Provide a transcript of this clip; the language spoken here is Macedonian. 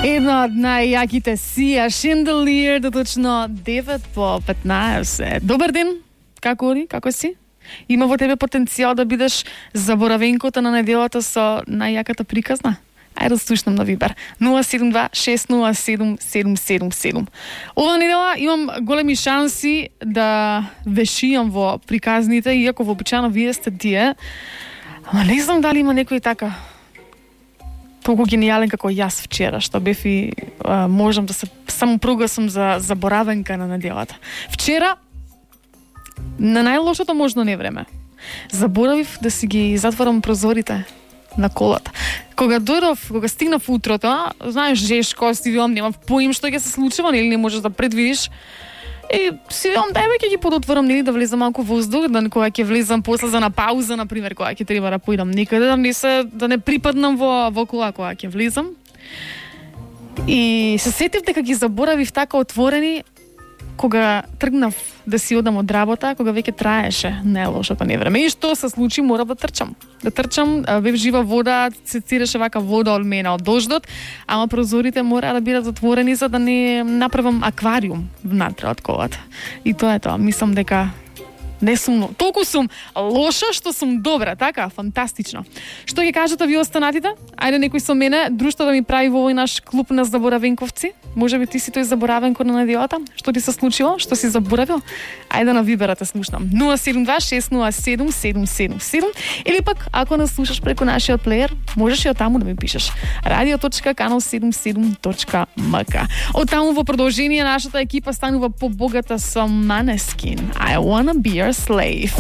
Една од најјаките Сија Шинделиер, точно 9 по 15. Добар ден, како оди, како си? Има во тебе потенцијал да бидеш заборавенкото на неделата со најјаката приказна? Ајде да слушнам на Вибер. 072-607-777. Ова недела имам големи шанси да вешијам во приказните, иако вообичаено вие сте тие. Ама не знам дали има некој така толку гениален како јас вчера, што бев и можам да се само прогласам за заборавенка на неделата. Вчера, на најлошото можно невреме, заборавив да си ги затворам прозорите на колата. Кога стигнав утрото, знаеш, жешко, си вилам, немав поим што ќе се случува, нели не можеш да предвидиш. И си вилам, дај ќе ги подотворам, нели да влезам малку воздух, да кога ќе влезам после за на пауза, например, кога ќе треба да поидам некаде, да не припаднам во кола кога ќе влезам. И се сетив дека ги заборавив така отворени кога тргнав да си одам од работа, кога веќе траеше најлошото невреме. И што се случи, мора да трчам. Бев жива вода, се циреше вака вода од мене од дождот, ама прозорите мора да бидат отворени за да не направам аквариум внатре од колата. И тоа е тоа. Мислам дека не сум, толку сум лоша што сум добра, така, фантастично. Што ќе кажете ви останатите? Ајде некој со мене, друштво да ми прави во овој наш клуб на заборавенковци. Може би ти си тој заборавенко на неделата? Што ти се случило? Што си заборавил? Ајде на Вибера те слушнам. 072-607-777 или пак, ако не слушаш преку нашиот плеер, можеш и од таму да ми пишеш. radio.canal77.mk. Од таму во продолжение нашата екипа станува побогата со Måneskin. I wanna be your slave.